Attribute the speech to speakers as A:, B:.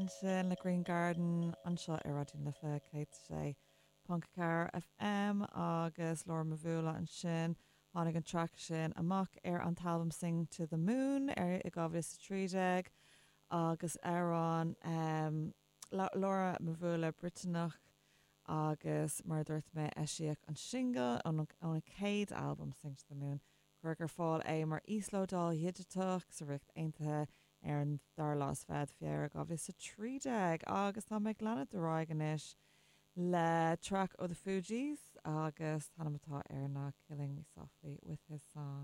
A: ansin le Green Garden anseo ar Raidió na Life 106.4 FM agus Laura Mvula ansin. Tháinig an traic sin amach ar an t-albam Sing to the Moon ar i 2013 agus amhrán Laura Mvula Briotanach agus mar a dúirt mé eisíodh an singil óna céad albam Sing to the Moon Cuireadh ar fáil é mar íoslódáil dhigiteach sa Ríocht Aontaithe ar an dara lá is fichead Feabhra 2013 agus tá mé ag leanúint ar aghaidh anois le traic ó The Fugees agus an t-ainm atá air ná Killing Me Softly With His Song.